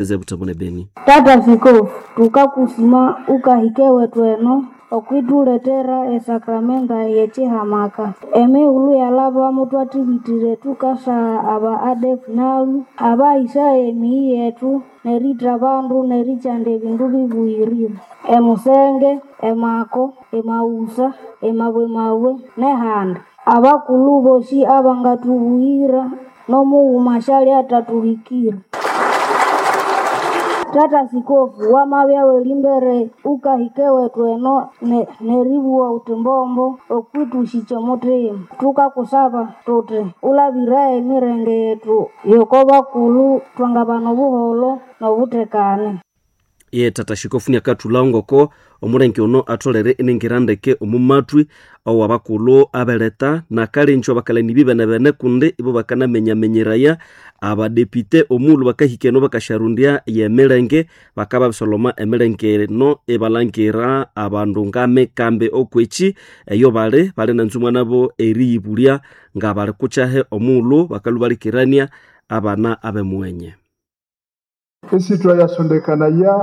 Zebutembo ne Beni. Tata Sikofu, tukakusima ukahike wethu eno okwithuletera esakramenta y'ekihamaka. Emighulhu yalhaba mutwathibitire tukasagha aba ADF NALU abahisaya emiyi yethu neritha abandu nerikyanda ebindu bibuyirire emusenge, emako, emaghusa, emabwemabwe nehandi. Abakulhu bosi abangathubuyira nomughuma asyalya athathuhikira. Tata Sikofu, wamabya werimbere ukahika ewethu eno neribugha wuthi mbombo okwithusikya omuthima. Thukakusaba thuthi ulabiraye emirenge yethu yoko bakulhu twangabana obuholho nobuthekane. Ye tata Shikofu niakathulhawo ngoko omulenge ono atholere inengira ndeke omu matwi owabakulhu abeleta nakalenjo abakalani bibenebene kundi ibo bakanamenyamenyeraya abadepite omughulhu bakahika eno bakasyarundya yemilenge bakababisoloma emilenge eno ibalhangira abandu ngamikambi okweki eyo bali bali nanzumwa nabo eriyibulya nga bali kukyahe omughulhu bakalhwa balikirania abana abemuwenye. Esitwa yasondekanaya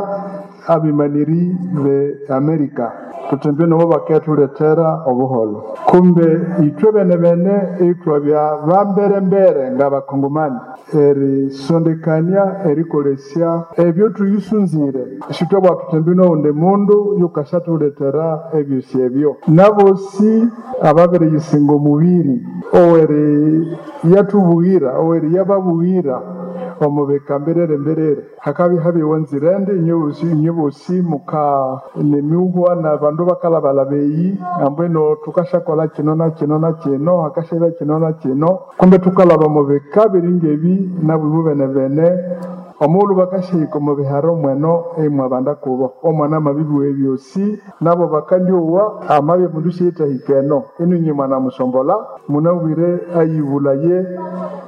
abimaniri be Amerika tutembe nabo bakethuletera obuholho kumbe ithwe benebene ithwabya bamberembere ngabakongomani erisondekania erikolesya ebyo thuyisunzire sithwabwa thutembe nowundi mundu yukasyathulethera ebyosi ebyo nabosi ababiriyisinga omubiri oweri yathubughira oweri yababughira omubika mbirere mbirere hakabya habiwa nzirende inywebosi muka nemiuhwa na bandu bakalabalaba eyi ambwino thukasyakolha kino na kino na kino hakasyabya kino na kino kumbe thukalaba omubika biringebi nabwibu benebene omughulhu bakasyahika omu biharo mweno imwabanda kubo omwana amabibuwa ebyosi nabo bakandyowa amabya mundu siyithahika eno inu mwanamusombolha munabwire ayibulaye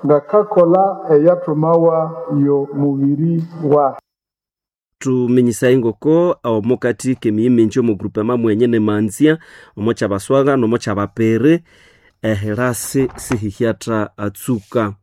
ngakakolha eyathumawa yo mubiri wahe. Thuminyisaye ngoko omukati kemiyi mingi omu groupement mwenye nemanzya omo kyabaswaga nomo kyabapere ehirasi sihihyatha atsuka.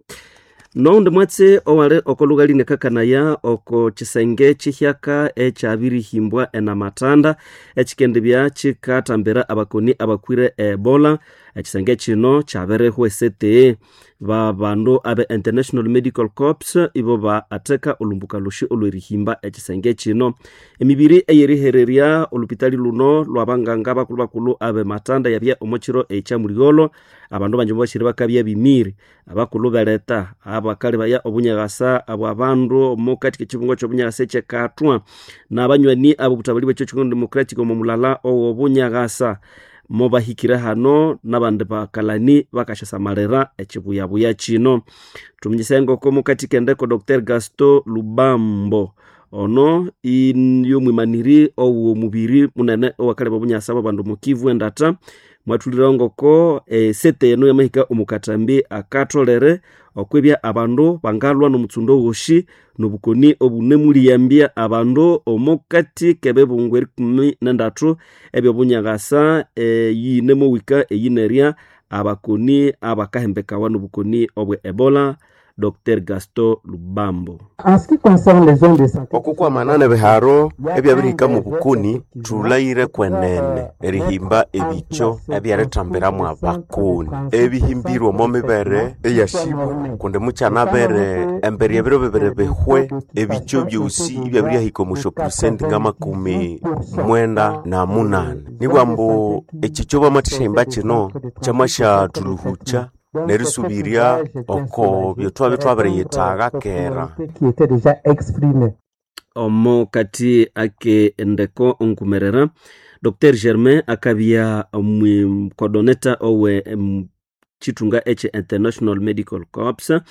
Nowundi mwatsi owali oko lhughali nekakanaya oko kisenge kihyaka ekyabirihimbwa enamatanda ekikendibya kikathambira abakoni abakwire Ebola. Ekisenge kino kyabirihwa esete babandu abe International Medical Corps ibo baatheka olhumbuka lhosi olwerihimba ekisenge kino. Emibiri eyerihererya olhupitali luno lwabanganga bakulhu-bakulhu abe matanda yabya omo kiro ekyamuligholo. Abandu bangi mubasire bakabya bimiri abakulhu beleta abakalebaya obunyaghasa abwa bandu omukati kekibungo kyobunyakasa ekyekathwa nabanywani abobuthabalhi bwekyo Congo Democratic omo mulala owobunyaghasa mobahikire hano nabandi bakalani bakasyasamalira ekibuyabuya kino. Thuminyise ngoko mukati kendeko Dr. Gaston Lubambo ono yomwimaniri owomubiri munene owakaleba obunyasa bwabandu omu Kivu endata mwathulirawo ngoko esete eno yamahika omukathambi akatholere okwibya abandu bangalwa nomutsundo wosi nobukoni obunemuliyambya abandu omukati kebibungo erikumi nendathu ebyobunyaghasa eyinemowika eyinerya abakoni abakahembekawa nobukoni obwe Ebola. Dr. Gaston Lubambo. Okukwamana nebiharo ebyabirihika mu bukoni thulhaire kwenene erihimba ebikyo ebyerithambiramu abakoni ebihimbirwe omo mibere eyasibwa kundi mukyanabere embere ebiro bibiri bihwe ebikyo byosi ibyabirihika omu syapulusenti ngamakumi mwenda na munani nibwambu ekikyo bamathishahimba kino kyamasyathuluhukya nerisubirya oko byethwabya twabiriyithaga kera. Omo kati ake endeko onkumerera Dr. Germain akabya omukordoneta owe chithunga ekye International Medical Corps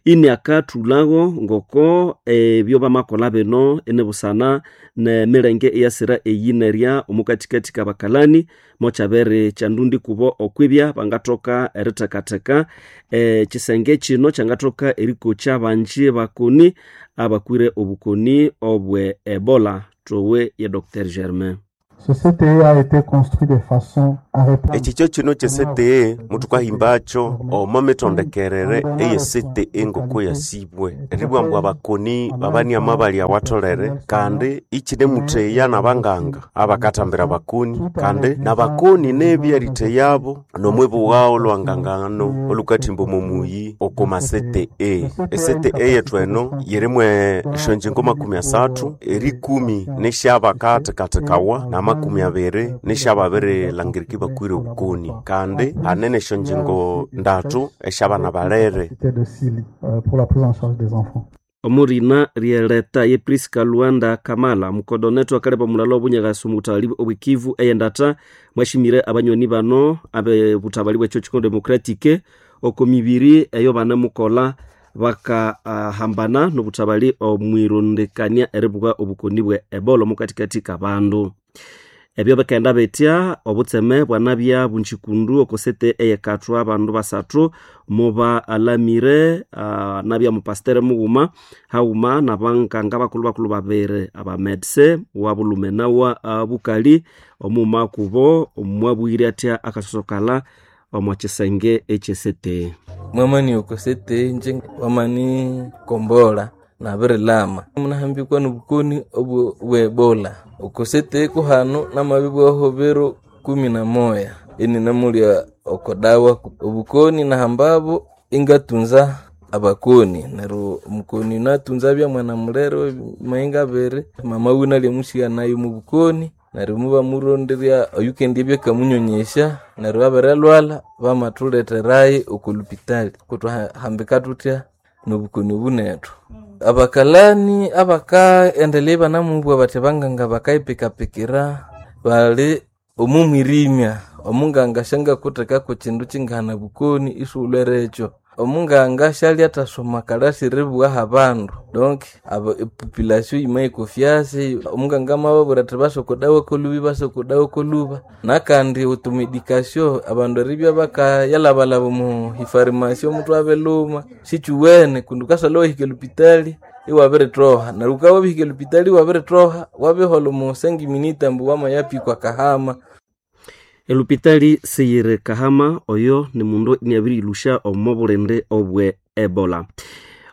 ini akathulhawo ngoko ebyo bamakolha bino inibusana nemilenge eyasira eyinerya omukathikathi kabakalani mokyabere kyandundi kubo okwibya bangathoka erithekatheka ekisenge kino kyangathoka erikokya abanji bakoni abakwire obukoni obwe Ebola. Thowe ye Dr. Germain. Ce CTE a été construit de façon à répondre Ekikyo kino kye CTE muthukahimbacho omo mitondekerere eye CTE ngoko yasibwe eribugha ambu abakoni babaniama bali awatholere kandi ikinemutheya nabanganga abakathambira abakoni kandi nabakoni nebi eritheyabo nomwibugha olwangangano olukathimba omo muyi oko ma CTE. E CTE yethu eno yirimu esyonjingo 30 erikumi nisyabakathekathekawa na 20 nisyababirilangirika ibakwire obukoni kandi hanene esyonjingo ndatu esyabana balere. de Sili pour la prise en charge des enfants. Omurina ryeleta ye Priska Luanda Kamala mukodonetho akaleba omulala obunyakasi omubuthabali obwekivu eyendata mwashimire abanywani bano abe buthabali bwekyo Congo Democratic oko mibiri eyo banemukola bakahambana nobuthabali omwirondekania eribuka obukoni bwe Ebola omukatikati kabandu. Ebyo bikaghenda bitya obutseme bwanabya bunjikundu oko sete eyekathwa abandu basathu muba alamire nabya mupasiteri mughuma haghuma nabanganga bakulhu bakulhu babiri abamedse wa bulume nawa bukali omughuma kubo mwabwire atya akasosokala omo kisenge ekyesete. Mwamani okosete nje wamani kombola nabirilama munahambikwa nobukoni obwo bwe Ebola okosete kuhanu namabibwaho biro 11 eni namulya okodawa obukoni nahambabo ingatunza abakoni neryo omukoni natunza bya mwana mulere mainga abiri mama wiwe nalyamusigha nayo mubukoni neryo mubamuronderya oyukendya byakamunyonyesya neryo abirilwalha bamathuleterayo okolupitali kutwahambika thuthya nobukoni obu nethu. Abakalani abakaendelea ibanamubugha bathi abanganga bakayipikapikira bali omumwirimya omunganga syangakuthekako kindu kingahana bukoni isiwulhwere ekyo. Omunganga syalyathasoma kalasi eribugha habandu donc epopulation yimayikofyasi omunganga amababwira athi basa okodawa koluba ibasa okodawa koluba nakandi automedication abandu eribya bakayalhabalhaba omu hifarimasi omuthwe abiluma sikyuwene kundi wukasalha iwahika elupitali iwabirithoha neryo wukabya wabihika elupitali iwabirithoha wabiholha omu 5 minutes ambu wamayapikwa kahama. Elupitali siyiri Kahama oyo ni mundu iniabiriyilusha omo bulindi obwe Ebola.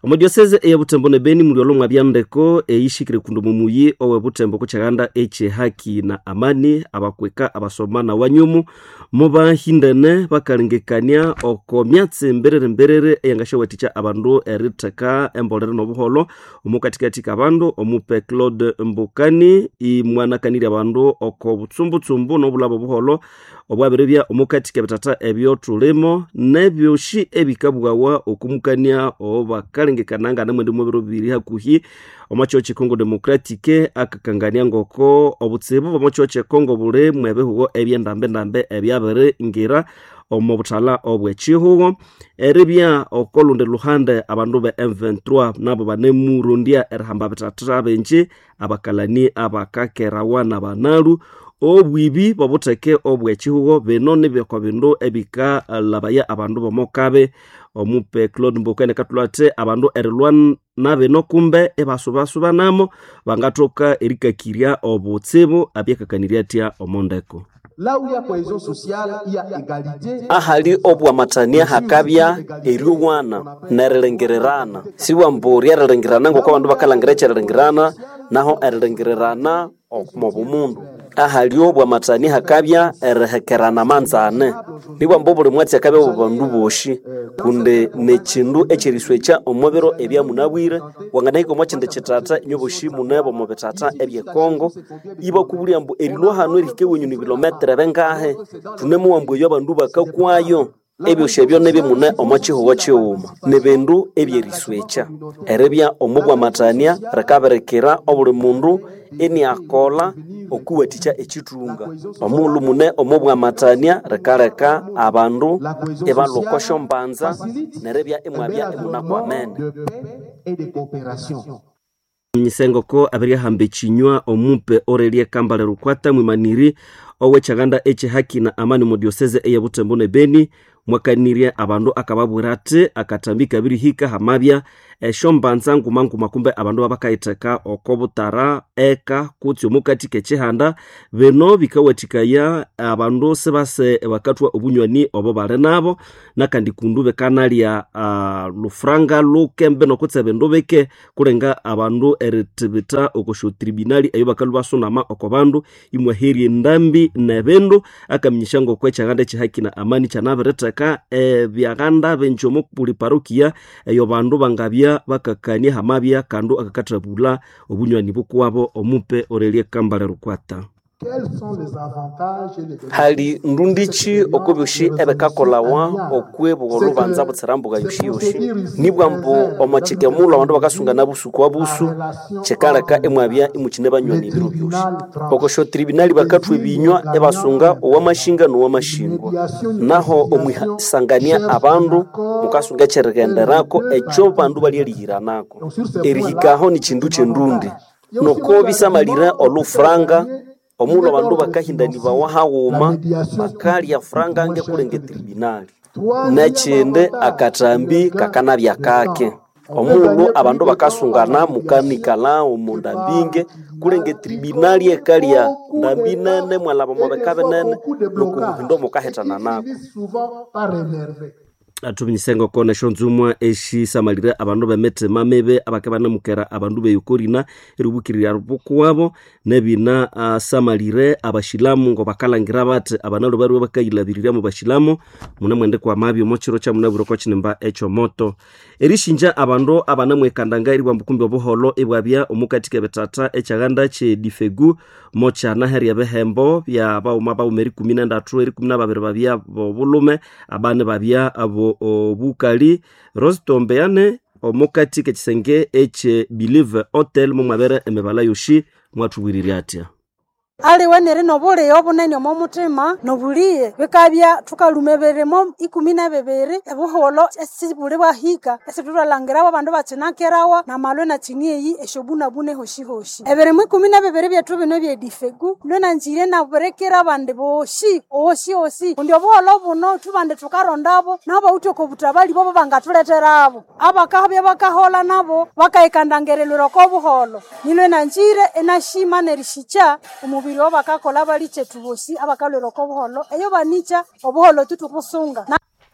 Omo diocese eya Butembo ne Beni muli olomwa byandeko eyishikire kundu mumuyi owe Butembo kukyaganda ekye haki na amani abakweka abasoma na wanyumu mubahindene bakalengekania oko myatsi mberere mberere eyangasyawathikya abandu eritheka embolere nobuholo omukatikati kabandu omupe Claude Mbukani imwanakanirya abandu oko butsumbutsumbu nobulaba obuholo obwabiribya omukati kebitata ebyo thulimo nebyoshi ebikabughawa okumukania obakalengekana namwendi mubiro bibiri hakuhi omwakyo kye Congo Democratic akakangania ngoko obutsibu bw'omwakyo kye Congo buli mwebihugo ebyendambendambe ebyabiringira omu buthala obw'ekihugo eribya okolundi luhande abandu be M23 nabo banemurondya erihamba bithatha bingi abakalani abakakerawa nabanalu obwibi bobutheke obw'ekihugo bino nibyoko bindu ebikalabaya abandu b'omokabe omupe Claude Mbokane kathulha athi abandu erilwa nabino kumbe ibasubasubanamo bangathoka erikakirya obutsibu abyakakanirya atya omondeko. Là où il y a cohésion sociale, il y a égalité. Ahali obwamatania hakabya eryowana nerilengererana siwambu ryerilengerana ngoko abandu bakalangira ekyerilengerana naho erilengererana omu bumundu ahali obwamatania hakabya erihekerana manzane nibwambu obuli mwatsi akabya obubandu boshi kundi nekindu ekyeriswekya omu biro ebyamunabwire wanganahika omu kindi kitata inywe boshi munebo omu bitata ebyekongo ibakubulya ambu erilwa hanu erihika ewenyu ni bilometere bengahe thunemuwambu eyo abandu bakakwayo ebyosi ebyo nibimune omo kihugo kighuma nibindu ebyeriswekya eribya omu bwamatania rikabirikira obuli mundu iniakolha okuwathikya ekithunga omughulhu mune omu bwamatania rikaleka abandu ibalhwa oko syombanza neribya imwabya imunakwamene. Nyisengoko abirihamba ekinywa omupe Aurelie Kambale Rukwata mwimaniri owekyaganda ekyehaki na amani mu diocese eye Butembo ne Beni. mwakanirye abandu akababwira ati akatambi kabirihika hamabya eshombanza nguma-nguma kumbe abandu babakayitheka oko butara eka kutse omukati k'ekihanda. Bino bikawathikaya abandu sibase bakathwa obunywani obo bali nabo, nakandi kundu bikanalya lufuranga lukembe nokutse ebindu bike kulenga abandu erithibitha okosyo tribunali eyo bakalhwa basunama oko bandu imwaherya endambi nebindu. Akaminyisya ngoko ekyaganda ekyihaki na amani kyanabiritheka ebyaghanda bingi omo buli parokia eyo bandu bangabya bakakania hamabya kandu akakathabulha obunywani bukuwabo. Omupe Aurelie Kambale Rukwata. Hali ndundichi okubyoshi ebikakolawa okwebugha olubanza butsira mbuga yoshiyoshi, nibwa mbu omwakike mulhu abandu bakasungana busuku wa busu, kikaleka imwabya imukine banywani ebiro byoshi. Okosyo tribunali bakathwa ebinywa ibasunga owamashinga nowamashingwa, naho omwisangania abandu mukasunga ekyerighenderako ekyo bandu balyerighiranako. Erihikaho nikindu kyendundi noko bisamalira olufuranga omulhu abandu bakahindanibawa haghuma bakalya franga nge kulenga etribunali. Nekindi akathambi kakanabya kake omulhu abandu bakasungana mukanikalha omu ndambinge kulenga etribunali ekalya ndambi nene mwalhaba omo bika binene nuku muhindo mukahithana nako. Athuminyise ngoko nesyonzumwa esyisamalire abandu b'emithima mibi abake banamukera abandu b'eyokorina eribukirirya bukuwabo, nebina asamalire abashilamu ngo bakalangira bathi abanalhu bariwe bakayilhabirirya mu bashilamu mune mwendikwa mabi omo kiro kyamunabwire oko kinimba ekyomoto. Erishinja abandu abanamwekandanga eribwamba kumbi obuholho ibwabya omukati k'ebithatha ekyaghanda ky'edifegu mokyanaherya ebihembo bya baghuma baghuma erikumi nendatu, erikumi nababiri babya bobulhume, abandi babya abo obukali. Rositombeane omukati k'ekisenge ekye Believe Hotel momwabere emibala yoshi mwathubwirirya atya. Aliwe neri nobulighe obunene omo muthima nobulighe bikabya thukaluma ebirimo 12 ebuholho esibuli bwahika esithuthalangirawo abandu bakyinakerawa namalwe nakyini eyi esyobunabune hoshihoshi. Ebirimo 12 byethu bino ebyedifegu lwenanzire nabirikira abandi bosi osi osi kundi obuholho buno thubandi thukarondabo nabawithe oko butabali bobo bangathuletherabo abakabya bakahola nabo bakayikandangirilwira oko buholho. Nilwenanzire enashima nerishikya omubiri obakakola balichethu bosi abakalwira oko buholho eyo banikya obuholho tutukusunga.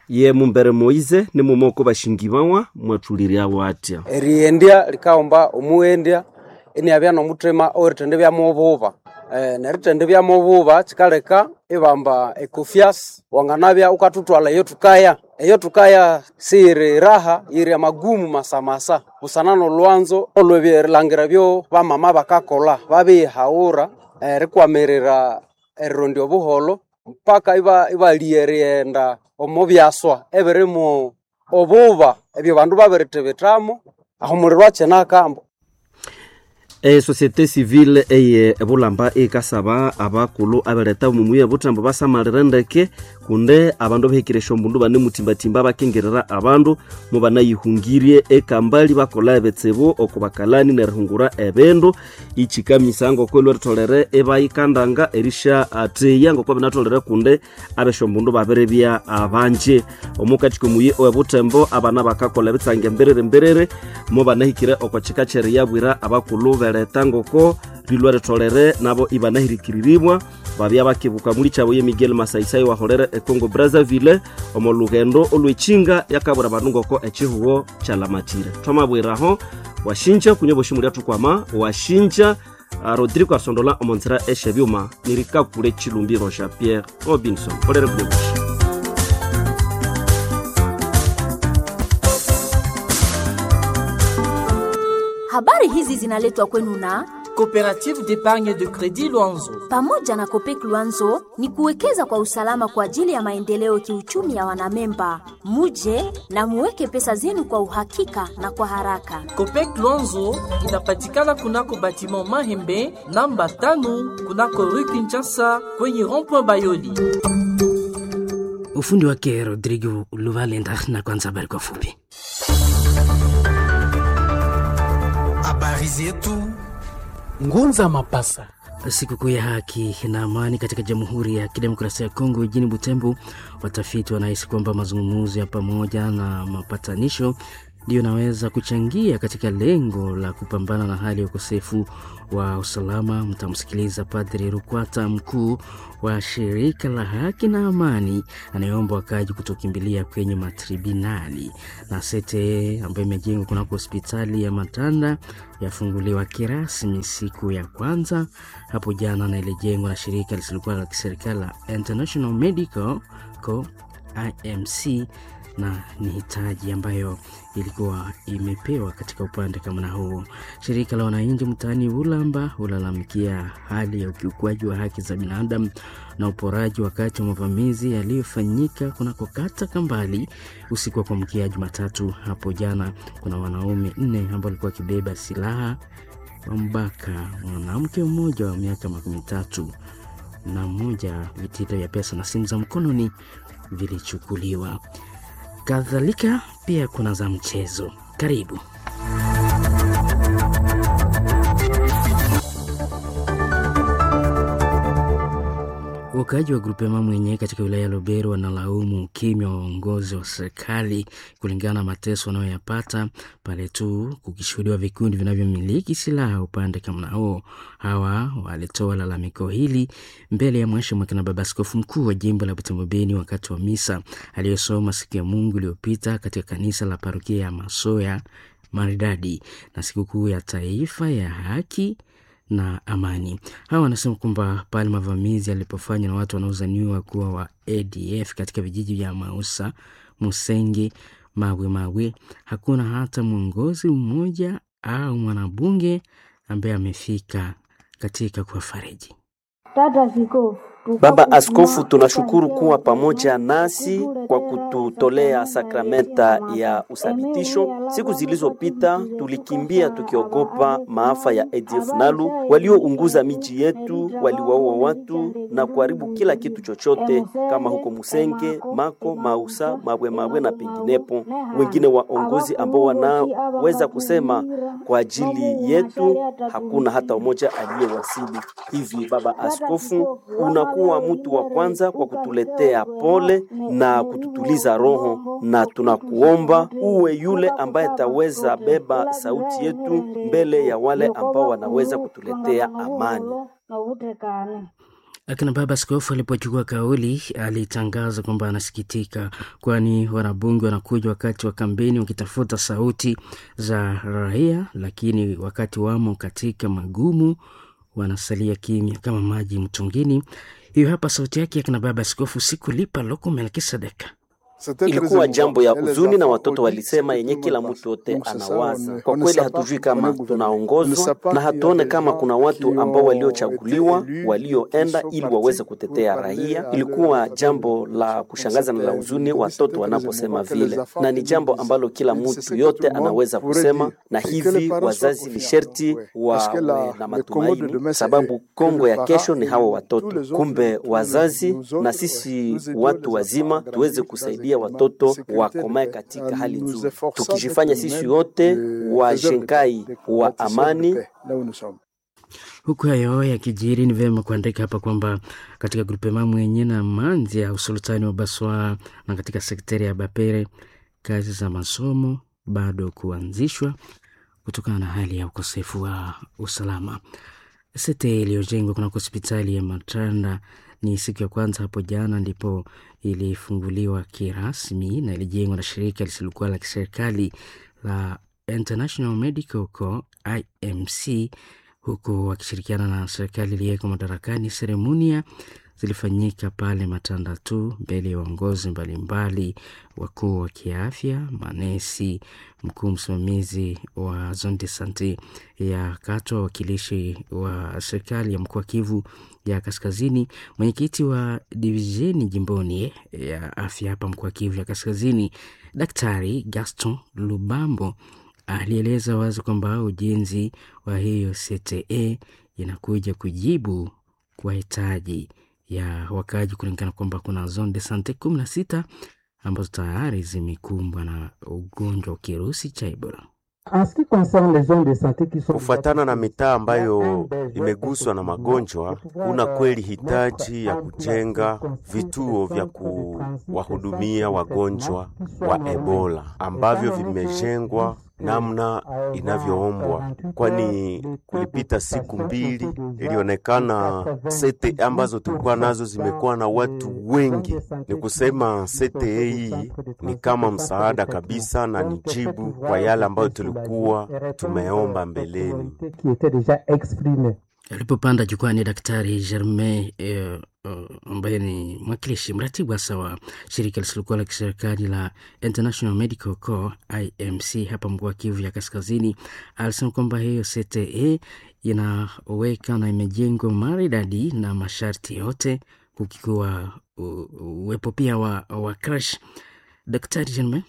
Ye Mumbere Moize nimumoko bashingibawa mwathuliryawo atya. Eriyendya likaghomba omuwendya iniabya nomuthima owerithenda ibyamububa. Nerithenda ibyamububa kikaleka ibamba ecofias wanganabya ukathuthwala eyo thukaya. Eyo thukaya siyiri raha, yiri amagumu masamasa busana nolwanzo olw'ebilangira byo bamama bakakolha babiyihaghura erikwamirira erirondya obuholho mpaka ibalya erighenda omo byaswa ebirimu obuba ebyo bandu babirithibithamo aho omuliro akyinaka. Esociété civile eye ebulamba ikasaba abakulhu aberetha omu muyi ebutambo basamalire ndeke kunde abandu abahikire esyombundu banemutimbatimba bakingirira abandu mubanayihungirye ekambali bakolha ebitsibu oko bakalani nerihungura ebindu. Ikikamisa ngoko ilweritholere ibayikandanga erisya atheya ngoko binatholere kunde abesyombundu babiribya abanji. Omukati komuyi owebutembo abana bakakolha ebitsange mbiriri mbiriri mubanahikire oko kika kyeriyabwira abakulhu leta ngoko rilwa ritholere nabo ibanahirikiriribwa babya bakibuka muli kyabo ye Miguel Masaisai waholere eCongo Brazzaville omo lugendo olwekinga yakabura abandu ngoko ekihugo kyalamatire. Twamabwiraho washinja kunye boshi mulya thukwama washinja Rodrigo Asondola omo nzira esyebyuma nirikakule Chilumbiro Jean Pierre Robinson olere kunye boshi. Habari hizi zinaletwa kwenu na Coopérative d'épargne de crédit Luanzo. Pamoja na Copec Luanzo ni kuwekeza kwa usalama kwa ajili ya maendeleo kiuchumi ya wanamemba. Muje na muweke pesa zenu kwa uhakika na kwa haraka. Copec Luanzo inapatikana kunako batiment Mahembe namba 5 kunako Rue Kinshasa kwenye rond-point Bayoli. Ufundi wake Rodrigo Luvalenda na kwanza habari kwa fupi. Habari zetu Ngunza Mapasa. Sikukuu ya haki na amani katika Jamhuri ya Kidemokrasia ya Kongo jijini Butembo, watafiti wanahisi kwamba mazungumzo ya pamoja na mapatanisho ndiyo inaweza kuchangia katika lengo la kupambana na hali ya ukosefu wa usalama. Mtamsikiliza Padri Rukwata, mkuu wa shirika la haki na amani, anayeomba wakaaji kutokimbilia kwenye matribinali. Na sete ambayo imejengwa kunako hospitali ya Matanda yafunguliwa kirasmi siku ya kwanza hapo jana, na ilijengwa na shirika lisilokuwa la kiserikali la International Medical Co IMC na ni hitaji ambayo ilikuwa imepewa katika upande kama na huo. Shirika la wananchi mtaani Ulamba hulalamikia hali ya ukiukwaji wa haki za binadamu na uporaji wakati wa mavamizi yaliyofanyika kunako kata Kambali usiku wa kuamkia Jumatatu hapo jana. Kuna wanaume 4 ambao walikuwa wakibeba silaha wambaka mwanamke mmoja wa miaka 31, vitita vya pesa na simu za mkononi vilichukuliwa. Kadhalika pia kuna za mchezo. Karibu. Wakaaji wa Grupema mwenyewe katika wilaya ya Lubero wanalaumu ukimya wa uongozi wa serikali kulingana na mateso wanayoyapata pale tu kukishuhudiwa vikundi vinavyomiliki silaha upande kama huo. Hawa walitoa lalamiko hili mbele ya Mhashamu na Baba Askofu Mkuu wa jimbo la Butembo Beni wakati wa misa aliyosoma siku ya Mungu iliyopita katika kanisa la parokia ya Masoya Maridadi na sikukuu ya taifa ya haki na amani. Hawa wanasema kwamba pale mavamizi yalipofanywa na watu wanaozaniwa kuwa wa ADF katika vijiji vya Mausa, Musenge, Mawe Mawe, hakuna hata mwongozi mmoja au mwanabunge ambaye amefika katika kuwafariji. Tata Askofu, Baba Askofu, tunashukuru kuwa pamoja nasi kwa kututolea sakramenta ya uthabitisho. Siku zilizopita tulikimbia tukiogopa maafa ya ADF NALU waliounguza miji yetu, waliwaua watu na kuharibu kila kitu chochote, kama huko Musenge, Mako, Mausa, Mawe Mawe na penginepo. Wengine waongozi ambao wanaweza kusema kwa ajili yetu, hakuna hata mmoja aliyewasili. Hivi Baba Askofu, unakuwa mtu wa kwanza kwa kutuletea pole na kututuliza roho, na tunakuomba uwe yule ambaye ataweza beba sauti yetu mbele ya wale ambao wanaweza kutuletea amani. Akina baba askofu alipochukua kauli alitangaza kwamba anasikitika, kwani wanabunge wanakuja wakati wa kampeni wakitafuta sauti za raia, lakini wakati wamo katika magumu wanasalia kimya kama maji mtungini. Hiyo hapa sauti yake akina baba askofu Sikulipa Loko Melkisedeka. Ilikuwa jambo ya huzuni na watoto walisema yenye kila mtu yote anawaza. Kwa kweli hatujui kama tunaongozwa na hatuone kama kuna watu ambao waliochaguliwa walioenda ili waweze kutetea raia. Ilikuwa jambo la kushangaza na la huzuni watoto wanaposema vile, na ni jambo ambalo kila mtu yote anaweza kusema, na hivi wazazi ni sherti wawe na matumaini, sababu Kongo ya kesho ni hawa watoto. Kumbe wazazi na sisi watu wazima tuweze kusaidia watoto wakomae katika hali nzuri, tukijifanya sisi wote wajengai wa amani. Huku hayo yakijiri, ni vyema kuandika hapa kwamba katika grupema mwenye na manzi ya usultani wa Baswa na katika sekteri ya Bapere kazi za masomo bado kuanzishwa kutokana na hali ya ukosefu wa usalama. Sete iliyojengwa kunako hospitali ya Matanda ni siku ya kwanza hapo jana ndipo ilifunguliwa kirasmi na ilijengwa na shirika lisilokuwa la kiserikali la International Medical Corps IMC, huku wakishirikiana na serikali iliyoko madarakani. Seremonia zilifanyika pale Matanda tu mbele ya waongozi mbalimbali, wakuu wa kiafya, manesi, mkuu msimamizi wa zone de sante ya Katwa, wakilishi wa serikali ya mkoa wa Kivu ya Kaskazini, mwenyekiti wa divisheni jimboni ya afya hapa mkoa wa Kivu ya Kaskazini, Daktari Gaston Lubambo alieleza wazi kwamba ujenzi wa hiyo CTE inakuja kujibu kwa hitaji ya wakaaji kulingana kwamba kuna zone de sante 16 ambazo tayari zimekumbwa na ugonjwa wa kirusi cha Ebola. Kufuatana na mitaa ambayo imeguswa na magonjwa, kuna kweli hitaji ya kujenga vituo vya kuwahudumia wagonjwa wa Ebola ambavyo vimejengwa namna inavyoombwa, kwani kulipita siku mbili ilionekana sete ambazo tulikuwa nazo zimekuwa na watu wengi. Ni kusema sete hii ni kama msaada kabisa na ni jibu kwa yale ambayo tulikuwa tumeomba mbeleni. Alipopanda jukwani, Daktari Germain ambaye ni mwakilishi mratibu hasa wa shirika lisilokuwa la kiserikali la International Medical Corps IMC hapa mkoa wa Kivu ya Kaskazini, alisema kwamba hiyo CTE inaweka na imejengwa maridadi na masharti yote, kukikuwa uwepo pia wa crash. Daktari Germain.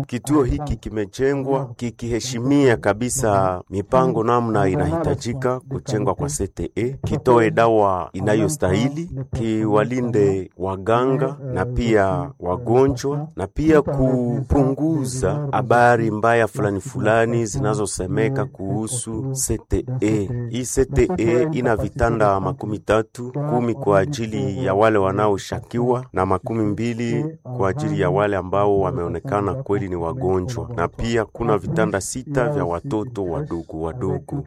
Kituo hiki kimejengwa kikiheshimia kabisa mipango namna inahitajika kujengwa kwa CTE, kitoe dawa inayostahili, kiwalinde waganga na pia wagonjwa, na pia kupunguza habari mbaya fulani fulani zinazosemeka kuhusu CTE. Hii CTE ina vitanda 30, 10 kwa ajili ya wale wanaoshakiwa na 20 kwa ajili ya wale ambao wameonekana kweli ni wagonjwa, na pia kuna vitanda 6 vya watoto wadogo wadogo.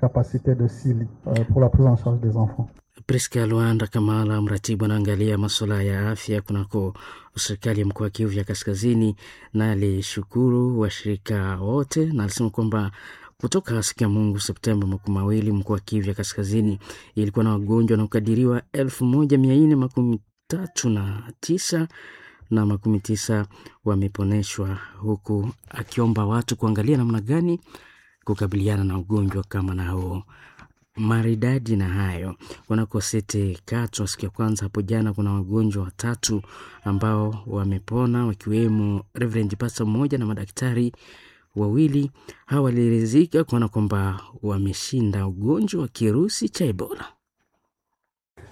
Priska Luanda Kamala, mratibu anaangalia masuala ya afya kunako serikali ya mkoa wa Kivu ya Kaskazini, na alishukuru washirika wote na alisema kwamba kutoka siku ya Mungu Septemba 20 mkoa wa Kivu ya Kaskazini ilikuwa na wagonjwa wanaokadiriwa 1439 na 90 wameponeshwa, huku akiomba watu kuangalia namna gani kukabiliana na ugonjwa kama na huo maridadi. Na hayo kunako sete Katwa, siku ya kwanza hapo jana, kuna wagonjwa watatu ambao wamepona wakiwemo Reverend Pastor mmoja na madaktari wawili. Hawa waliridhika kuona kwamba wameshinda ugonjwa wa kirusi cha Ebola.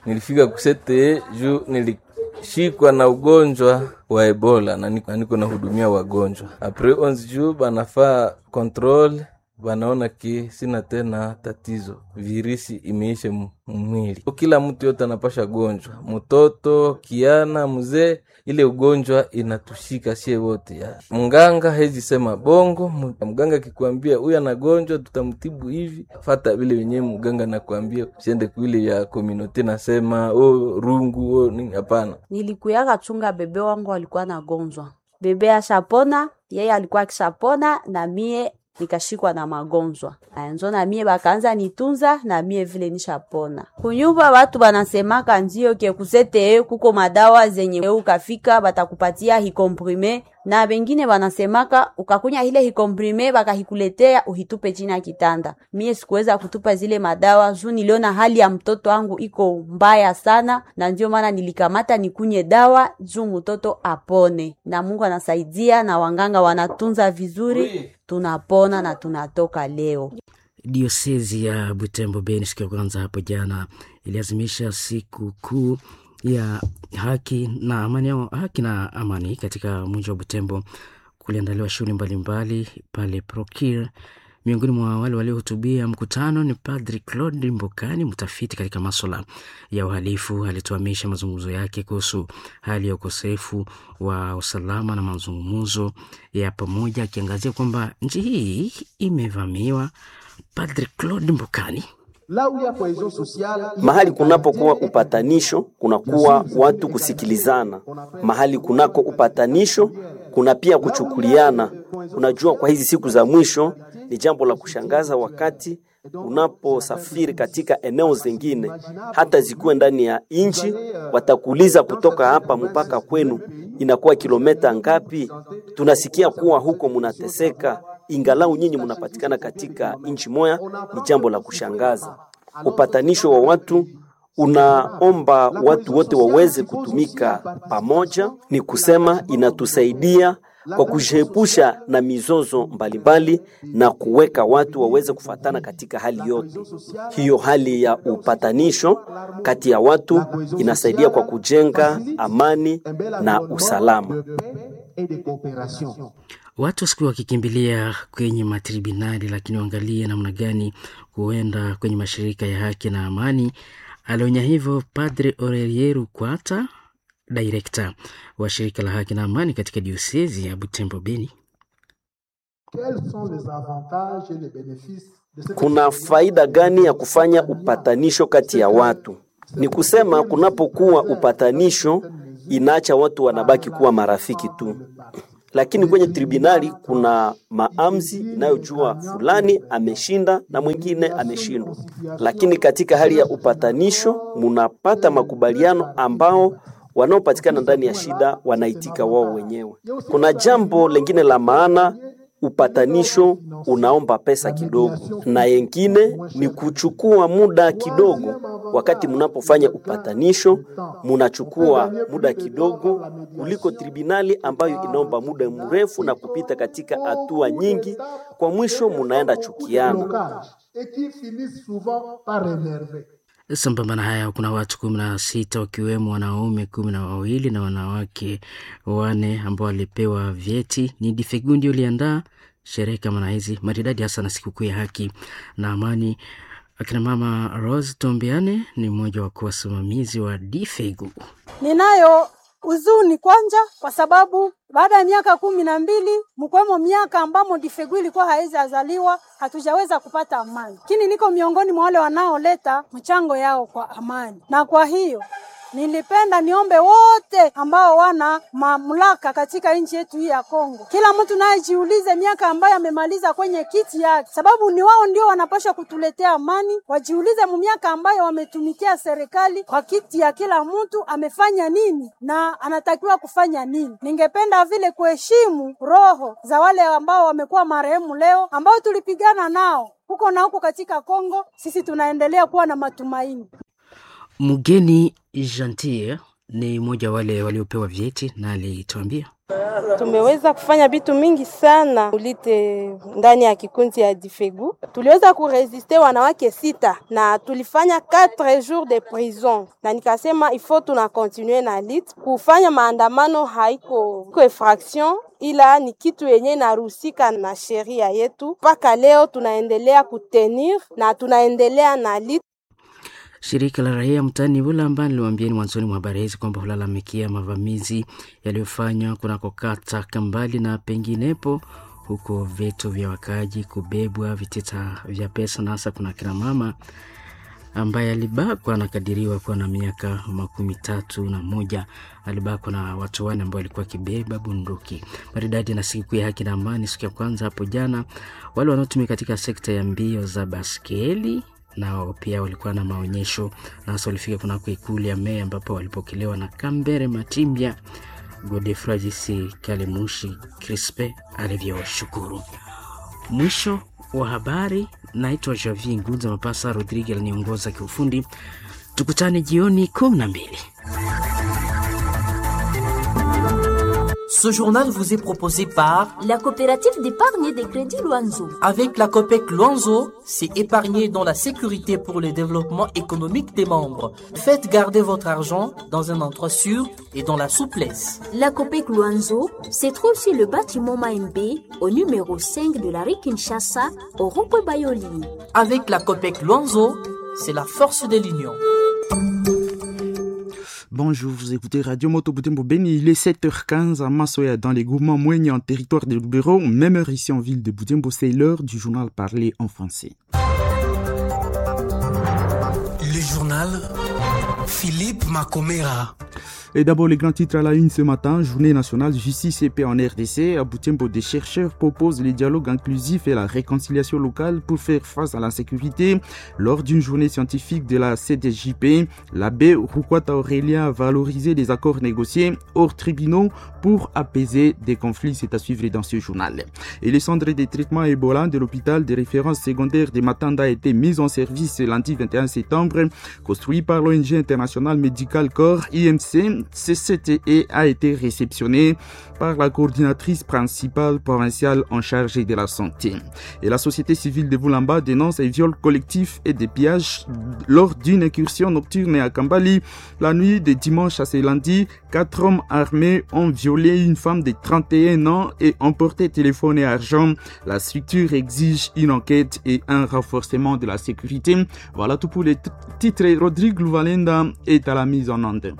Nilifika kusete juu nilishikwa na ugonjwa wa Ebola na niko nahudumia wagonjwa apres 11 juu banafaa control, banaona ke sina tena tatizo, virisi imeisha mwili. Kila mtu yote anapasha gonjwa, mtoto, kiana, mzee, ile ugonjwa inatushika sie wote. Ya mganga hezi sema bongo. Mganga akikwambia huyu anagonjwa, tutamtibu hivi, fata vile wenyewe mganga nakwambia, usiende kuile ya community nasema oh, rungu oh, nini. Hapana, nilikuyaka chunga bebe wangu alikuwa nagonjwa, bebe ashapona, yeye alikuwa akishapona na mie nikashikwa na magonjwa nzo na mie bakaanza nitunza na mie vile nishapona. Kunyumba watu banasemaka ndio ke kusete kuko madawa zenye ukafika batakupatia hikomprime, na bengine banasemaka ukakunya ile hikomprime bakahikuletea uhitupe chini ya kitanda. Mie sikuweza kutupa zile madawa juu niliona hali ya mtoto wangu iko mbaya sana, na ndio maana nilikamata nikunye dawa juu mtoto apone, na Mungu anasaidia na wanganga wanatunza vizuri, tunapona na tunatoka leo. Diosezi ya Butembo Beni siku ya kwanza hapo jana iliazimisha siku kuu ya haki na amani, au haki na amani katika mji wa Butembo. Kuliandaliwa shughuli mbalimbali pale Prokir. Miongoni mwa wale waliohutubia mkutano ni Padri Claude Mbokani, mtafiti katika maswala ya uhalifu. Alituhamisha mazungumzo yake kuhusu hali ya ukosefu wa usalama na mazungumzo ya pamoja, akiangazia kwamba nchi hii imevamiwa. Padri Claude Mbokani: Mahali kunapokuwa upatanisho kunakuwa watu kusikilizana. Mahali kunako upatanisho kuna pia kuchukuliana. Unajua, kwa hizi siku za mwisho ni jambo la kushangaza wakati unaposafiri katika eneo zingine, hata zikuwe ndani ya nchi, watakuuliza kutoka hapa mpaka kwenu inakuwa kilometa ngapi? Tunasikia kuwa huko munateseka, ingalau nyinyi munapatikana katika nchi moya. Ni jambo la kushangaza. Upatanisho wa watu unaomba watu wote waweze kutumika pamoja, ni kusema inatusaidia kwa kujiepusha na mizozo mbalimbali na kuweka watu waweze kufatana katika hali yote. Hiyo hali ya upatanisho kati ya watu inasaidia kwa kujenga amani na usalama. Watu wasikuwa wakikimbilia kwenye matribunali, lakini waangalie namna gani kuenda kwenye mashirika ya haki na amani. Alionya hivyo Padre Aurelien Rukwata, direkta wa shirika la haki na amani katika diosezi ya Butembo Beni. Kuna faida gani ya kufanya upatanisho kati ya watu? Ni kusema kunapokuwa upatanisho inaacha watu wanabaki kuwa marafiki tu, lakini kwenye tribunali kuna maamzi inayojua fulani ameshinda na mwingine ameshindwa. Lakini katika hali ya upatanisho munapata makubaliano ambao wanaopatikana ndani ya shida wanaitika wao wenyewe. Kuna jambo lingine la maana, upatanisho unaomba pesa kidogo, na yengine ni kuchukua muda kidogo. Wakati mnapofanya upatanisho, munachukua muda kidogo kuliko tribunali ambayo inaomba muda mrefu na kupita katika hatua nyingi. Kwa mwisho, munaenda chukiana. Sambamba na haya, kuna watu 16 wakiwemo wanaume 12 na wanawake 4 ambao walipewa vyeti. Ni Difegundi uliandaa sherehe kama na hizi maridadi, hasa na sikukuu ya haki na amani. Akina mama Rose Tombiane ni mmoja wa wasimamizi wa Difegu. Ninayo huzuni kwanja kwa sababu baada ya miaka 12 mkwemo miaka ambamo Difegu ilikuwa haizi azaliwa, hatujaweza kupata amani, lakini niko miongoni mwa wale wanaoleta mchango yao kwa amani, na kwa hiyo nilipenda niombe wote ambao wana mamlaka katika nchi yetu hii ya Kongo, kila mtu naye jiulize miaka ambayo amemaliza kwenye kiti yake, sababu ni wao ndio wanapaswa kutuletea amani. Wajiulize mu miaka ambayo wametumikia serikali kwa kiti ya kila mtu amefanya nini na anatakiwa kufanya nini. Ningependa vile kuheshimu roho za wale ambao wamekuwa marehemu leo, ambao tulipigana nao huko na huko katika Kongo. Sisi tunaendelea kuwa na matumaini. Mgeni Gentil ni mmoja wale waliopewa vyeti na alituambia Tumeweza kufanya vitu mingi sana ulite ndani ya kikundi ya Difegu. Tuliweza kuresiste wanawake 6 na tulifanya 4 jours de prison, na nikasema ifo tuna continue na lit kufanya maandamano, haiko infraction ila ni kitu yenye inaruhusika na sheria yetu. Mpaka leo tunaendelea kutenir na tunaendelea na lit. Shirika la raia mtaani Bulamba niliwaambieni mwanzoni mwa habari hizi kwamba hulalamikia mavamizi yaliyofanywa kunako kata Kambali na penginepo, huko vitu vya wakaaji kubebwa, vitita vya pesa, na hasa kuna kina mama ambaye alibakwa, anakadiriwa kuwa na miaka 31. Alibakwa na watu 4 ambao walikuwa wakibeba bunduki. Maridadi na siku ya haki na amani, siku ya kwanza hapo jana, wale wanaotumika katika sekta ya mbio za baskeli nao pia walikuwa na maonyesho na hasa walifika kunako ikulu ya meya ambapo walipokelewa na Kambere Matimbya Godefroid jinsi Kalemushi Crispe alivyoshukuru. Mwisho wa habari. Naitwa Javier Ngunza Mapasa, Rodrigue aliniongoza kiufundi. Tukutane jioni 12. Ce journal vous est proposé par la coopérative d'épargne et de crédit Luanzo. Avec la COPEC Luanzo, c'est épargner dans la sécurité pour le développement économique des membres. Faites garder votre argent dans un endroit sûr et dans la souplesse. La COPEC Luanzo se trouve sur le bâtiment Maembe, au numéro 5 de la rue Kinshasa, au rond-point Bayoli. Avec la COPEC Luanzo, c'est la force de l'union. Bonjour, vous écoutez Radio Moto Butembo Beni. Il est 7h15 à Massoya, dans les groupements Mouenya en territoire de Lubero. Même heure ici en ville de Butembo, c'est l'heure du journal parlé en français. Le journal Philippe Macomera. Et d'abord, les grands titres à la une ce matin. Journée nationale justice et paix en RDC. À Butembo, des chercheurs proposent les dialogues inclusifs et la réconciliation locale pour faire face à l'insécurité. Lors d'une journée scientifique de la CDJP, l'abbé Rukwata Aurélien a valorisé les accords négociés hors tribunaux pour apaiser des conflits. C'est à suivre dans ce journal. Et le centre de traitement Ebola de l'hôpital de référence secondaire de Matanda a été mis en service lundi 21 septembre. Construit par l'ONG internationale Medical Corps IMC, CCTE a été réceptionné par la coordinatrice principale provinciale en charge de la santé. Et la société civile de Boulamba dénonce un viol collectif et des pillages lors d'une incursion nocturne à Kambali. La nuit de dimanche à ce lundi, 4 hommes armés ont violé une femme de 31 ans et emporté téléphone et argent. La structure exige une enquête et un renforcement de la sécurité. Voilà tout pour les titres. Rodrigue Louvalenda est à la mise en onde.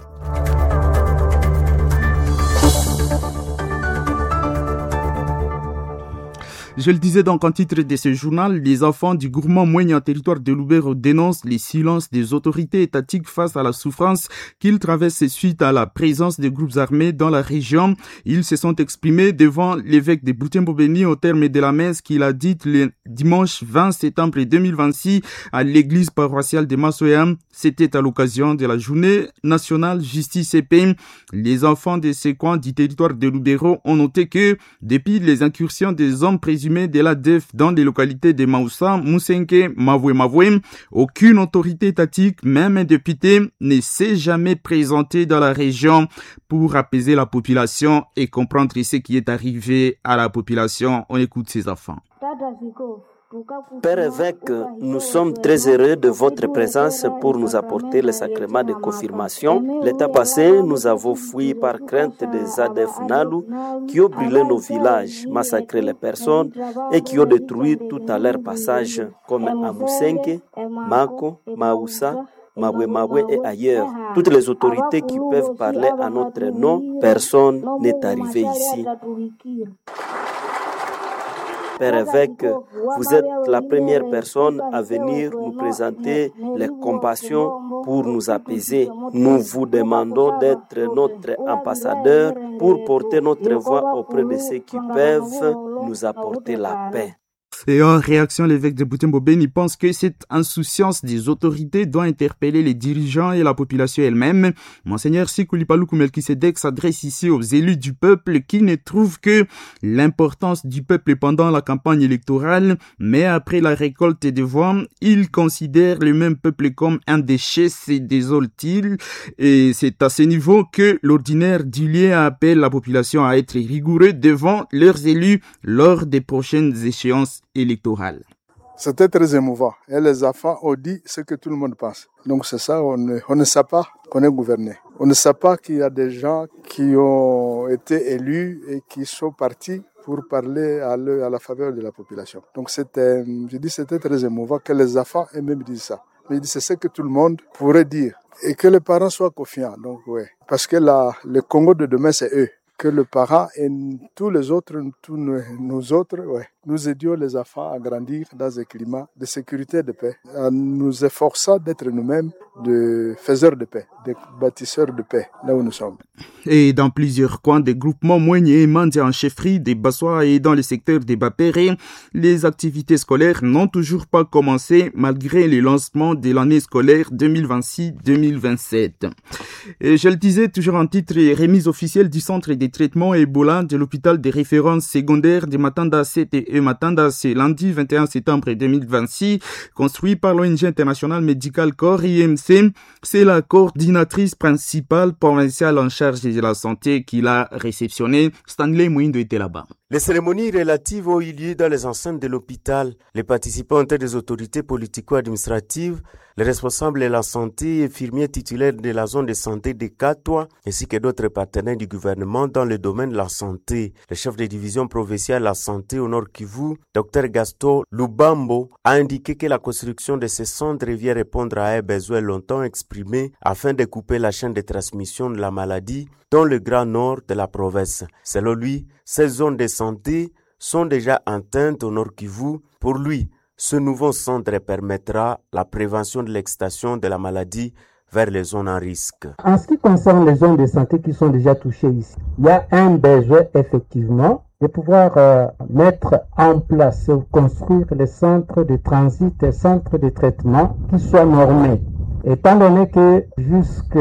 Je le disais donc en titre de ce journal, les enfants du gourmand moyen en territoire de Lubero dénoncent les silences des autorités étatiques face à la souffrance qu'ils traversent suite à la présence des groupes armés dans la région. Ils se sont exprimés devant l'évêque de Butembo-Beni au terme de la messe qu'il a dite le dimanche 20 septembre 2026 à l'église paroissiale de Massoya. C'était à l'occasion de la journée nationale justice et paix. Les enfants de ces coins du territoire de Lubero ont noté que depuis les incursions des hommes présumés de l'ADF dans les localités de Maoussa, Moussenke, Mavoué Mavoué, aucune autorité étatique, même un député, ne s'est jamais présenté dans la région pour apaiser la population et comprendre ce qui est arrivé à la population. On écoute ces enfants. Père évêque, nous sommes très heureux de votre présence pour nous apporter le sacrement de confirmation. L'état passé, nous avons fui par crainte des ADF Nalu qui ont brûlé nos villages, massacré les personnes et qui ont détruit tout à leur passage, comme à Moussenke, Mako, Maoussa, Mabwe Mabwe et ailleurs. Toutes les autorités qui peuvent parler à notre nom, personne n'est arrivé ici. Père évêque, vous êtes la première personne à venir nous présenter les compassions pour nous apaiser. Nous vous demandons d'être notre ambassadeur pour porter notre voix auprès de ceux qui peuvent nous apporter la paix. Et en réaction, l'évêque de Butembo Beni pense que cette insouciance des autorités doit interpeller les dirigeants et la population elle-même. Monseigneur Sikuli Paluku Melkisedek s'adresse ici aux élus du peuple qui ne trouvent que l'importance du peuple pendant la campagne électorale, mais après la récolte des voix, ils considèrent le même peuple comme un déchet, se désole-t-il. Et c'est à ce niveau que l'ordinaire du lieu appelle la population à être rigoureux devant leurs élus lors des prochaines échéances électorale. C'était très émouvant. Et les enfants ont dit ce que tout le monde pense. Donc c'est ça, on ne sait pas qu'on est gouverné. On ne sait pas qu'il y a des gens qui ont été élus et qui sont partis pour parler à la faveur de la population. Donc c'était, je dis, c'était très émouvant que les enfants eux-mêmes disent ça. Mais c'est ce que tout le monde pourrait dire. Et que les parents soient confiants. Donc ouais. Parce que le Congo de demain, c'est eux. Que le parent et tous les autres, tous nous autres, ouais, nous aidions les enfants à grandir dans un climat de sécurité et de paix, en nous efforçant d'être nous-mêmes de faiseurs de paix, de bâtisseurs de paix, là où nous sommes. Et dans plusieurs coins des groupements Mwenye et Mandia en chefferie des Bassois et dans le secteur des Bapéré, les activités scolaires n'ont toujours pas commencé malgré le lancement de l'année scolaire 2026-2027. Et je le disais toujours en titre, remise officielle du centre des traitements Ebola de l'hôpital des références secondaires de Matanda CTE Matanda, c'est lundi 21 septembre 2026, construit par l'ONG internationale Medical Corps IMC. C'est la coordinatrice principale provinciale en charge de la santé qui l'a réceptionné. Stanley Mouindo était là-bas. Les cérémonies relatives ont eu lieu dans les enceintes de l'hôpital. Les participants étaient des autorités politico-administratives, les responsables de la santé, infirmiers titulaires de la zone de santé de Katwa, ainsi que d'autres partenaires du gouvernement dans le domaine de la santé. Le chef de division provinciale de la santé au Nord Kivu, Dr Gaston Lubambo, a indiqué que la construction de ces centres vient répondre à un besoin longtemps exprimé afin de couper la chaîne de transmission de la maladie dans le grand nord de la province. Selon lui, ces zones de santé sont déjà atteintes au Nord Kivu. Pour lui, ce nouveau centre permettra la prévention de l'extension de la maladie vers les zones à risque. En ce qui concerne les zones de santé qui sont déjà touchées ici, il y a un besoin effectivement de pouvoir mettre en place, construire les centres de transit et centres de traitement qui soient normés. Étant donné que jusque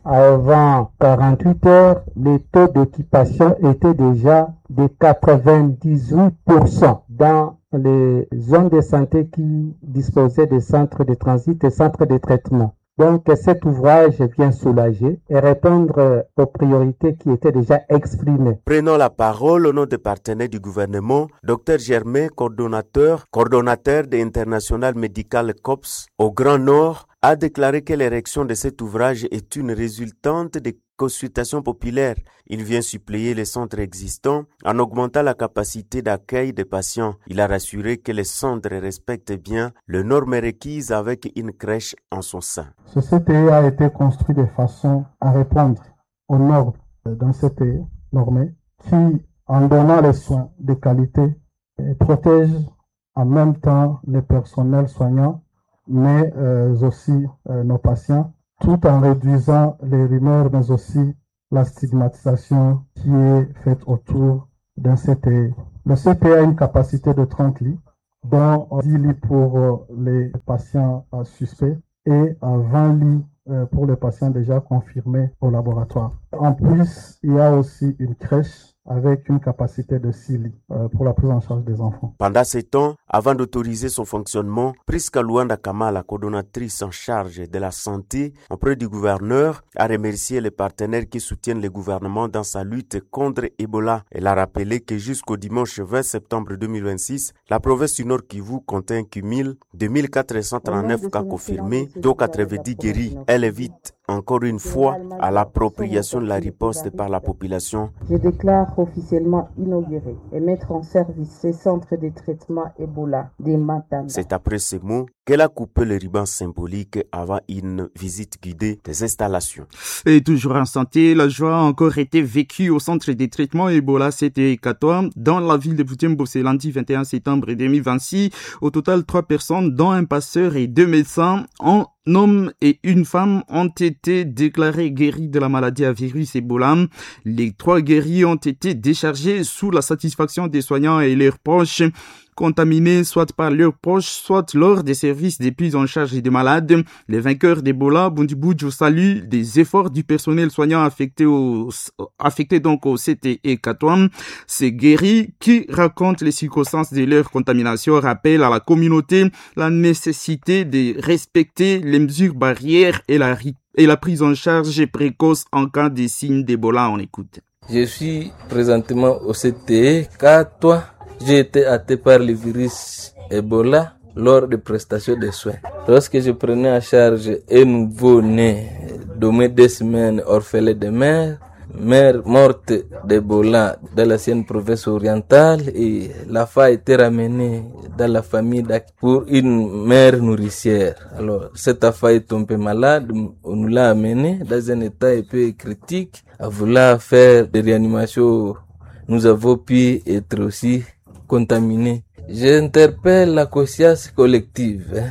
avant 48 heures, le taux d'occupation était déjà de 98% dans les zones de santé qui disposaient des centres de transit et centres de traitement. Donc cet ouvrage vient soulager et répondre aux priorités qui étaient déjà exprimées. Prenant la parole au nom des partenaires du gouvernement, Dr Germain, coordonnateur de International Medical Corps au Grand Nord, a déclaré que l'érection de cet ouvrage est une résultante des consultations populaires. Il vient suppléer les centres existants en augmentant la capacité d'accueil des patients. Il a rassuré que les centres respectent bien les normes requises avec une crèche en son sein. Ce CTE a été construit de façon à répondre aux normes d'un CTE normé qui, en donnant les soins de qualité, protège en même temps les personnels soignants, mais aussi nos patients, tout en réduisant les rumeurs, mais aussi la stigmatisation qui est faite autour d'un CTE. Le CTE a une capacité de 30 lits, dont 10 lits pour les patients suspects et 20 lits pour les patients déjà confirmés au laboratoire. En plus, il y a aussi une crèche avec une capacité de 6 lits pour la prise en charge des enfants. Pendant ces temps, avant d'autoriser son fonctionnement, Priska Luanda Kamala, coordonnatrice en charge de la santé auprès du gouverneur, a remercié les partenaires qui soutiennent le gouvernement dans sa lutte contre Ebola. Elle a rappelé que jusqu'au dimanche 20 septembre 2026, la province du Nord Kivu compte un cumul de 1439 cas confirmés, dont 90 guéris. Elle évite encore une fois à l'appropriation de la riposte par la population. Je déclare officiellement inauguré et mettre en service ces centres de traitement Ebola des Matanda. C'est après ces mots qu'elle a coupé le ruban symbolique avant une visite guidée des installations. Et toujours en santé, la joie a encore été vécue au centre de traitement Ebola CTE 14 dans la ville de Butembo, c'est lundi 21 septembre 2026. Au total, 3 personnes, dont un passeur et 2 médecins, ont un homme et une femme ont été déclarés guéris de la maladie à virus Ebola. Les 3 guéris ont été déchargés sous la satisfaction des soignants et leurs proches, contaminés soit par leurs proches, soit lors des services de prise en charge des malades. Les vainqueurs d'Ebola, Bundibugyo, salue des efforts du personnel soignant affecté donc au CTE 14. Ces guéris qui racontent les circonstances de leur contamination rappellent à la communauté la nécessité de respecter les mesures barrières et la prise en charge précoce en cas de signes d'Ebola. On écoute. Je suis présentement au CTE 4. J'ai été atteint par le virus Ebola lors de prestations de soins. Lorsque je prenais en charge un nouveau-né de moins 2 semaines orphelin de mère, mère morte d'Ebola dans l'ancienne province orientale, et la fa a été ramenée dans la famille pour une mère nourricière. Alors, cette affaire est tombée malade, on nous l'a amenée dans un état un peu critique, à vouloir faire des réanimations. Nous avons pu être aussi contaminés. J'interpelle la conscience collective,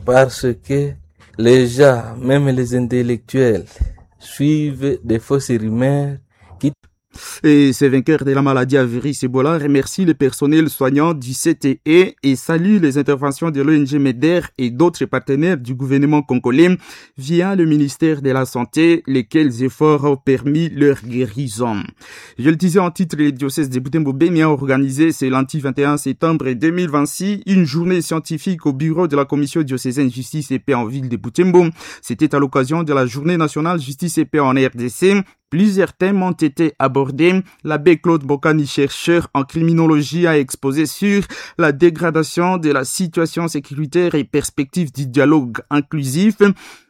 parce que les gens, même les intellectuels, suivent des fausses rumeurs qui... Et ces vainqueurs de la maladie à virus Ebola remercient le personnel soignant du CTE et saluent les interventions de l'ONG MEDER et d'autres partenaires du gouvernement congolais via le ministère de la Santé, lesquels efforts ont permis leur guérison. Je le disais en titre, le diocèse de Butembo-Beni a organisé ce lundi 21 septembre 2026 une journée scientifique au bureau de la commission diocésaine Justice et Paix en ville de Butembo. C'était à l'occasion de la journée nationale Justice et Paix en RDC. Plusieurs thèmes ont été abordés. L'abbé Claude Bocani, chercheur en criminologie, a exposé sur la dégradation de la situation sécuritaire et perspectives du dialogue inclusif.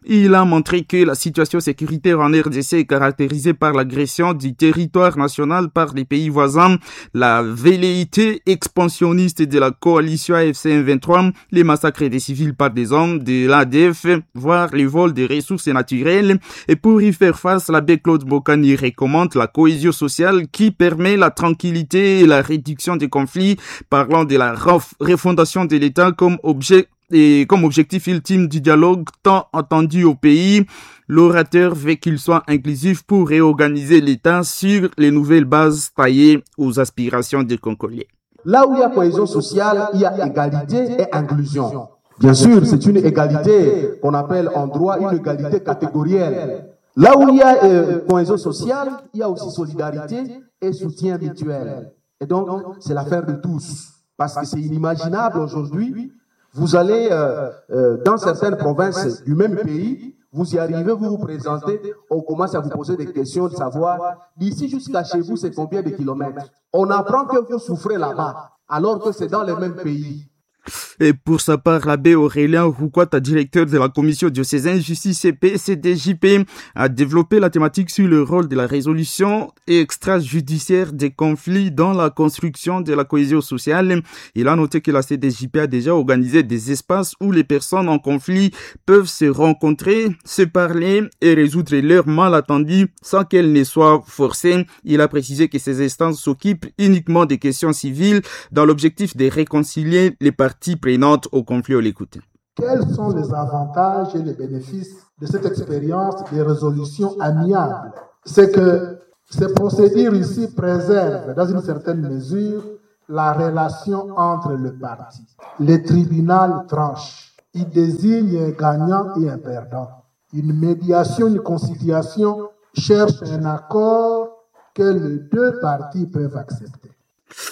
Il a montré que la situation sécuritaire en RDC est caractérisée par l'agression du territoire national par les pays voisins, la velléité expansionniste de la coalition AFC M23, les massacres des civils par des hommes de l'ADF, voire les vols des ressources naturelles. Et pour y faire face, l'abbé Claude Bocani recommande la cohésion sociale qui permet la tranquillité et la réduction des conflits, parlant de la refondation de l'État comme objet et comme objectif ultime du dialogue tant attendu au pays. L'orateur veut qu'il soit inclusif pour réorganiser l'État sur les nouvelles bases taillées aux aspirations des Congolais. Là où il y a cohésion sociale, il y a égalité et inclusion. Bien sûr, c'est une égalité qu'on appelle en droit une égalité catégorielle. Là où il y a cohésion sociale, il y a aussi solidarité et soutien mutuel. Et donc, c'est l'affaire de tous. Parce que c'est inimaginable aujourd'hui, vous allez dans certaines provinces du même pays, vous y arrivez, vous vous présentez, on commence à vous poser des questions de savoir d'ici jusqu'à chez vous, c'est combien de kilomètres. On apprend que vous souffrez là-bas, alors que c'est dans le même pays. Et pour sa part, l'abbé Aurélien Rouquata, directeur de la commission diocésaine justice et CDJP, a développé la thématique sur le rôle de la résolution extrajudiciaire des conflits dans la construction de la cohésion sociale. Il a noté que la CDJP a déjà organisé des espaces où les personnes en conflit peuvent se rencontrer, se parler et résoudre leurs malentendus sans qu'elles ne soient forcées. Il a précisé que ces instances s'occupent uniquement des questions civiles dans l'objectif de réconcilier les parties prenantes au conflit. On l'écoute. Quels sont les avantages et les bénéfices de cette expérience des résolutions amiables? C'est que ces procédures ici préservent dans une certaine mesure la relation entre les parties. Le tribunal tranche. Il désigne un gagnant et un perdant. Une médiation, une conciliation cherche un accord que les deux parties peuvent accepter.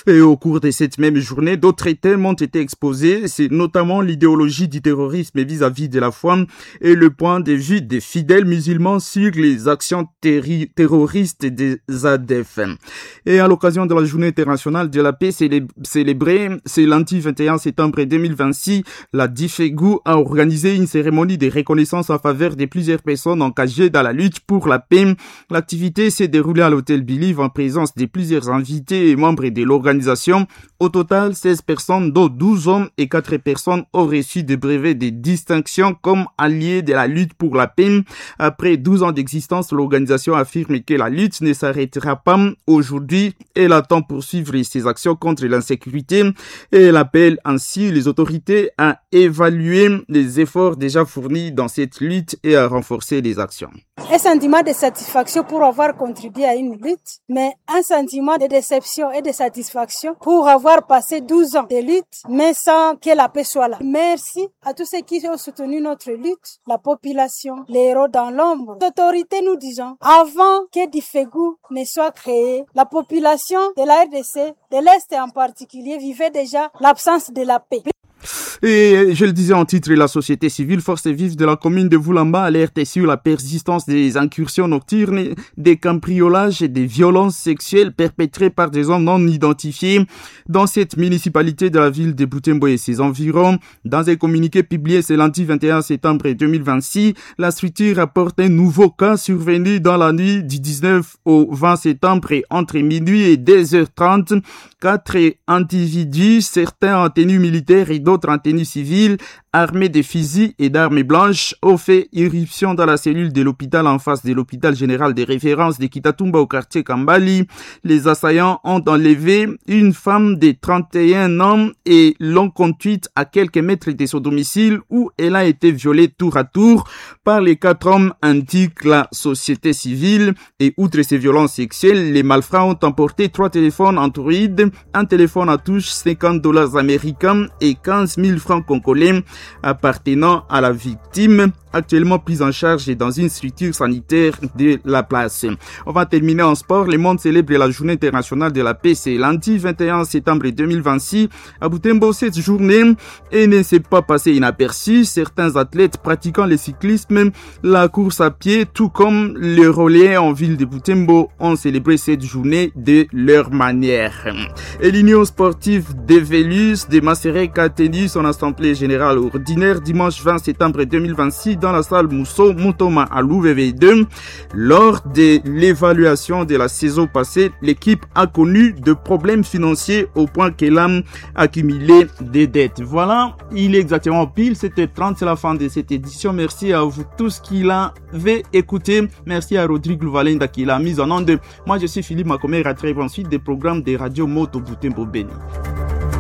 Et au cours de cette même journée, d'autres thèmes ont été exposés, c'est notamment l'idéologie du terrorisme vis-à-vis de la foi et le point de vue des fidèles musulmans sur les actions terroristes des ADF. Et à l'occasion de la Journée internationale de la paix célébrée, c'est lundi 21 septembre 2026, la DIFEGU a organisé une cérémonie de reconnaissance en faveur de plusieurs personnes engagées dans la lutte pour la paix. L'activité s'est déroulée à l'hôtel Believe en présence de plusieurs invités et membres de l'organisation. Au total, 16 personnes, dont 12 hommes et 4 personnes, ont reçu des brevets de distinction comme alliés de la lutte pour la paix. Après 12 ans d'existence, l'organisation affirme que la lutte ne s'arrêtera pas aujourd'hui. Elle attend poursuivre ses actions contre l'insécurité et elle appelle ainsi les autorités à évaluer les efforts déjà fournis dans cette lutte et à renforcer les actions. Un sentiment de satisfaction pour avoir contribué à une lutte, mais un sentiment de déception et de satisfaction pour avoir passé 12 ans de lutte, mais sans que la paix soit là. Merci à tous ceux qui ont soutenu notre lutte, la population, les héros dans l'ombre. Les autorités, nous disons, avant que Difegou ne soit créé, la population de la RDC, de l'Est en particulier, vivait déjà l'absence de la paix. Et je le disais en titre, la société civile Force Vive de la commune de Voulamba alerte sur la persistance des incursions nocturnes, des cambriolages et des violences sexuelles perpétrées par des hommes non identifiés dans cette municipalité de la ville de Butembo et ses environs. Dans un communiqué publié ce lundi 21 septembre 2026, la structure rapporte un nouveau cas survenu dans la nuit du 19 au 20 septembre et entre minuit et 2h30. 4 individus, certains en tenue militaire et d'autres en tenue civile, armés de fusils et d'armes blanches, ont fait irruption dans la cellule de l'hôpital en face de l'hôpital général des références de Kitatumba au quartier Kambali. Les assaillants ont enlevé une femme de 31 ans et l'ont conduite à quelques mètres de son domicile où elle a été violée tour à tour par les 4 hommes, indique la société civile. Et outre ces violences sexuelles, les malfrats ont emporté 3 téléphones Android, un téléphone à touche, $50 américains et 15 000 francs congolais appartenant à la victime, actuellement prise en charge dans une structure sanitaire de la place. On va terminer en sport. Le monde célèbre la journée internationale de la paix. C'est lundi 21 septembre 2026. À Butembo, cette journée et ne s'est pas passée inaperçue. Certains athlètes pratiquant le cyclisme, la course à pied, tout comme le relais en ville de Butembo, ont célébré cette journée de leur manière. Et l'Union sportive des Vélus de Maserek a tenu son assemblée générale ordinaire dimanche 20 septembre 2026 dans la salle Mousso Moutoma à l'UVV2. Lors de l'évaluation de la saison passée, l'équipe a connu de problèmes financiers au point qu'elle a accumulé des dettes. Voilà, il est exactement pile 7h30, c'est la fin de cette édition. Merci à vous tous qui l'avez écouté. Merci à Rodrigue Louvalenda qui l'a mise en onde. Moi, je suis Philippe Macomer, à très ensuite des programmes des radios Moto Butembo Beni.